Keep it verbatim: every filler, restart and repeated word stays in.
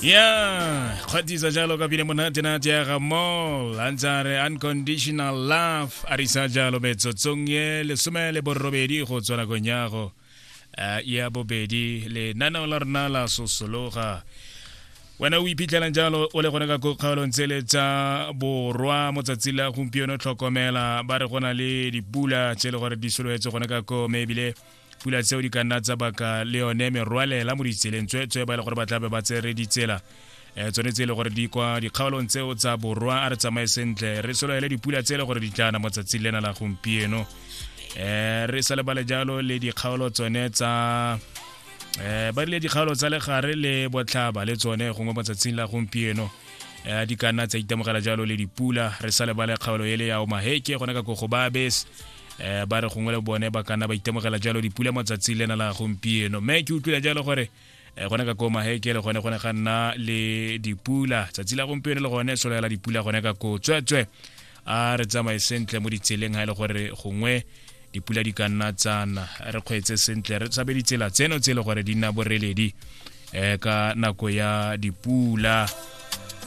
Ya kgwatisa jalo ka pina monate nate ya ga Mall a ntse a re "Unconditional Love". A risa jalo metsotsong ye lesome le borobedi go tswa nakong ya go eh, ya bobedi, lenaneo la rona la Sosologa. Wena o iphitlhelang jalo o le gone ka ko kgaolong tsele tsa borwa mo tsatsi la gompieno, tlhokomela, ba re go na le dipula tse e le gore di sologetse gone ka ko, mme ebile pula tseo di ka nna tsa baka le yone merwalela mo ditseleng. Tsweetswe ba e le gore ba tlabe ba tsere ditsela um tsone tse e le gore di kwa dikgaolong tseo tsa borwa, a re tsamaye sentle, re sologele dipula tse e le gore di tlana mo tsatsing lena la gompieno. um re sa lebale jalo le dikgaolo tsone tsa um ba rile dikgaolo tsa legare le botlhaba, le tsone gongwe mo tsatsing la gompieno um di ka nna tsa itemogela jalo le dipula. Re sa lebale kgaolo ele ya Omaheke gone ka ko go Babes, um ba re gongwe le bone ba ka nna ba itemogela jalo dipula mo tsatsing lena la gompieno. Mme ke utlwile jalo gore eh, gone ka ko Maheke le gone gone ga nna le dipula tsatsi la gompieno, le gone solela dipula gone ka ko. Tsweetswe a re tsamaye sentle mo ditseleng, ga e le gore gongwe dipula di ka nna tsana, re kgweetse sentle, re tshabe ditsela tseno tse e le gore di nna boreledi um ka nako ya dipula.